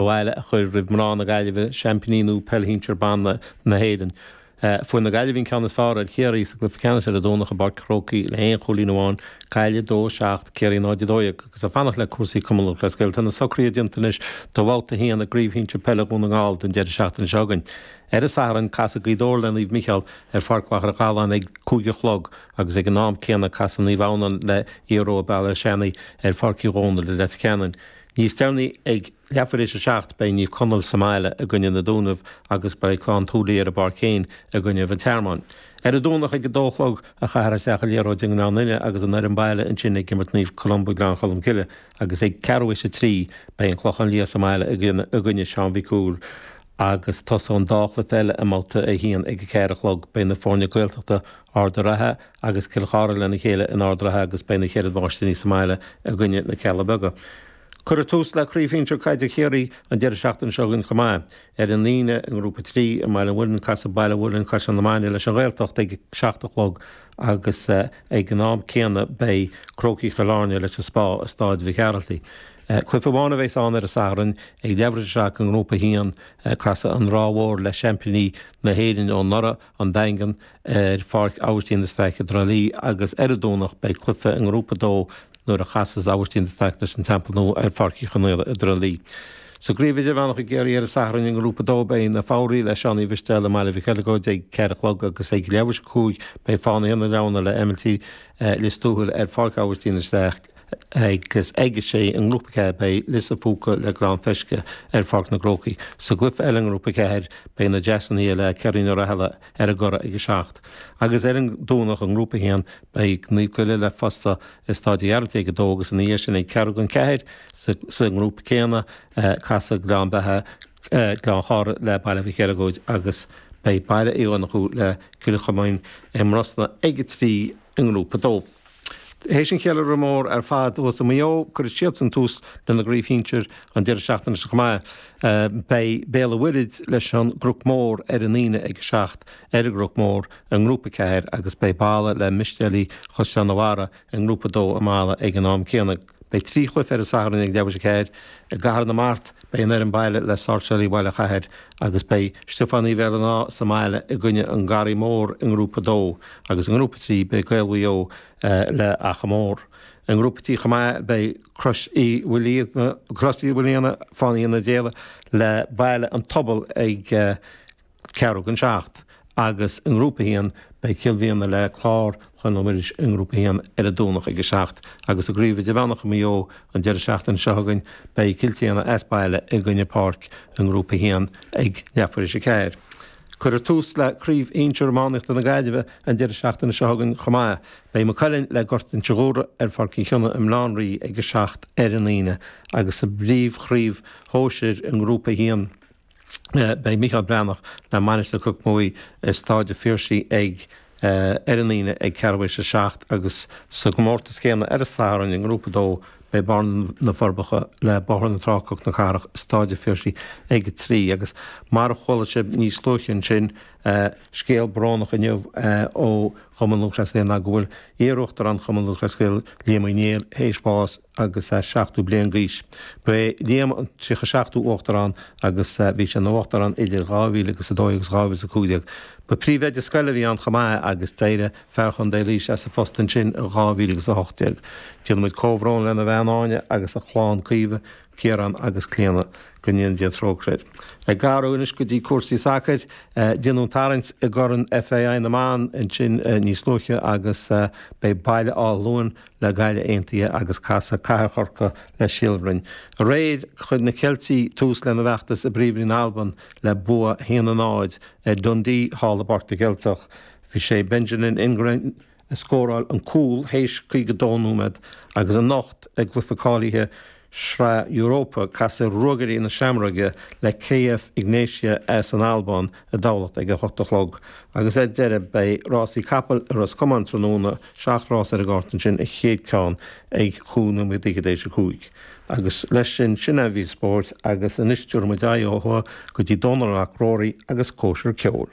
Abhaile a chur roimh mná na Gaillimhe, seaimpíní nua Peil Shinsir Ban na hÉireann. Fuair na Gaillimhigh an ceann is fearr ar Chiarraí sa gcluiche ceannais ar an Domhnach i bPáirc an Chrócaigh le haon chúilín amháin, Gaillimh 2, 7, Ciarraí 0, 12. Agus ag fanacht le cúrsaí Cumann Lúthchleas Gael, tá na socruithe déanta anois do Bhabhta 1 i gCraobh Shinsir Peile Dhún na nGall don deireadh seachtaine seo chugainn. Ar an Satharn, casfaidh Gaoth Dobhair le Naomh Micheál ar Pháirc Mhachaire Galláin ag 5 a chlog agus ag an am céanna casfaidh Naomh Adhamhnáin le Iathroa Béal Átha Seanaidh ar Pháirc Uí Dhónaill i Leitir Ceanainn. Níos deireanaí ag leathuair théis a 7 beidh Naomh Conaill sa mbaile i gcoinne na Dúnaibh agus beidh Clann tSúilí ar an bpáirc féin i gcoinne an Tearmain. Ar an Domhnach ag 2 a chlog a chaithfear isteach an liathróid i nGleann Fhinne agus an fhoireann baile ansin ag imirt Naomh Columba Gleann Cholm Cille agus ag ceathrú théis a 3 beidh an Clochán Liath sa mbaile i gcoinne Seán Mhic Cumhaill agus tosóidh an dá chluiche eile i mbabhta 1 ag 4 a chlog. Beidh na foirne Gaeltachta Ard an Rátha agus Cill Chartha lena chéile in Ard an Rátha agus beidh na Ceithre Mháistíní sa mbaile i gcoinne na Cealla Beaga. Cuirfear tús le Craobh Shinsir Caide Chiarraí an deireadh seachtaine seo chugainn chomh maith. Ar an Aoine i nGrúpa 3 i mBaile an Mhuilinn casfaidh Baile Mhuilinn Caisleán na Mainge leis an Ghaeltacht ag 7 a chlog agus ag an am céanna beidh Crócaigh Chill Airne leis an Spá i Stáid Mhic Gearaltaigh. Cluiche amháin a bheas ann ar an Satharn ag leathuair théis a 7 i nGrúpa 1, casfaidh an Ráth Mhór le seaimpíní na hÉireann ó anuraidh, An Daingean, ar Pháirc Aibhistín de Staic i dTrá Lí agus ar an Domhnach beidh cluiche i nGrúpa 2 nuair a chasas Aibhistín de Staic leis an Teampall Nua ar Pháirc Uí Chonaola i dTrá Lí. Sa gCraobh Idirmheánach i gCiarraí ar an Satharn i nGrúpa 2 beidh Na Foghraí le Seán Uí Mhistéala i mBaile Mhic Eileagóid ag 4 a chlog agus ag leathuair théis a 5 beidh Fánaithe na Leamhna le MLT Lios Tuathail ar Pháirc Aibhistín de Staic agus ag a sé i nGrúpa 4 beidh Lios an Phúca le Gleann Feisce ar Pháirc na gCrócaigh. Sa gcluiche eile i nGrúpa 4 beidh na Deasúnaithe le Ceirín Ó Rathaille ar an gCurrach ag a 7. Agus ar an Domhnach i nGrúpa 1 beidh Naomh Goille le Fosta i Stáid an Ghearaltaigh ag a 2 agus ina dhiaidh sin ag ceathrú don cheathair sa ngrúpa céanna casfaidh Gleann Beatha Gleann Chártha le Baile Mhic Eileagóid agus beidh Baile Uí Dhonnchú le Cill Chomáin i mBrosna ag a 3 i nGrúpa 2. Théis an cheiliúradh mór ar fad thuas i Maigh Eo, cuirfidh siadsan tús lena gcraobh shinsir an deireadh seachtaine seo chomh maith. Beidh Béal an Mhuirthead leis an gCnoc Mór ar an Aoine ag 7 ar an gCnoc Mór i nGrúpa 4 agus beidh Balla le Mistéalaigh Chaisleán an Bharraigh i nGrúpa 2 i mBalla ag an am céanna. Beidh 3 chluiche ar an Satharn ag leathuair théis a 4. I gCathair na Mart, beidh an fhoireann baile le Sáirséalaigh Bhaile Chathair agus beidh Stiofán Uí Bhéal an Átha sa mbaile i gcoinne an Garraí Mór i nGrúpa 2 agus i nGrúpa 3 beidh Gaeil Mhaigh Eo le Achadh Mór. I nGrúpa 3 chomh maith beidh Crois Uí Mhaoilíona, Fánaithe na Déala le Baile an Phobail ag ceathrú don seacht agus i nGrúpa 1 beidh Cill Mhíona le Clár Chluain Muiris i nGrúpa 1 ar an Domhnach ag 7 agus i gCraobh Idirmheánach i Maigh Eo an deireadh seachtaine seo chugainn beidh Cill tSéadhna as baile i gcoinne Páirc i nGrúpa 1 ag leathuair théis a 4. Cuirfear tús le Craobh Shinsir Iománaíochta na Gaillimhe an deireadh seachtaine seo chugainn chomh maith. Beidh Maigh Cuilinn le Gort Inse Guaire ar Pháirc Uí Chionnaith i mBaile Átha an Rí ag 7 ar an Aoine agus sa bpríomhchraobh shóisir i nGrúpa 1 Beidh Micheál Breathnach le Mainistir Chnoc Muaidhe i Stáid an Phiarsaigh ag ar an Aoine ag ceathrú théis a 7 agus sa gcomórtas céanna ar an Satharn i nGrúpa 2 beidh Barr na Forbacha le Bóthar na Trá Cnoc na Cathrach i Stáid an Phiarsaigh ag 3 agus mar a chuala sibh níos luaithe ansin scéal brónach inniu ó Chumann Lúthchleas Gael ná go bhfuil iar-uachtarán Chumann Lúthchleas Gael Liam Ó Néill théis bás agus é 70 bliain d'aois. Ba é Liam an 37ú Uachtarán agus bhí sé ina Uachtarán idir 2002 agus 2015. Ba phríomhoide scoile a bhí ann chomh maith agus d'éirigh fear Chontae Laoise as a phost ansin i 2018. Déanaimid comhbhrón lena bhean Áine agus a chlann Caoimhe, Ciarán agus Clíona. Go ndéana Dia trócaire air. Ag athrú anois go dtí cúrsaí sacair, déanadh an tarraingt i gCorn FAI na mBan ansin níos luaithe agus beidh Baile Átha Luain le Gaillimh Aontaithe agus casfaidh Cathair Chorcaí le Síol Bhroin. Aréir, chuir na Ceiltigh tús lena bhfeachtas i bPríomhroinn na hAlban le bua 1-0 ar Dundee thall i bPáirc na gCeilteach. Bhí sé Benjamin Ingram a scóráil an cúl théis 52 nóiméad agus anocht i gcluiche cáilithe Shraith Europa, casfaidh Ruagairí na Seamróige le KF Egnatia as an Albáin i dTamhlacht ag a hocht a chlog. Agus ar deireadh, beidh rásaí capall i Ros Comáin tráthnóna, 7 rás ar an gcárta ansin, an chéad ceann ag 5 nóiméad fhichead théis a 5. Agus leis sin, sin é an mhír spóirt agus anois tabharfaidh muid aghaidh ó thuaidh go dtí Dónal Mac Ruairí agus cóisir ceoil.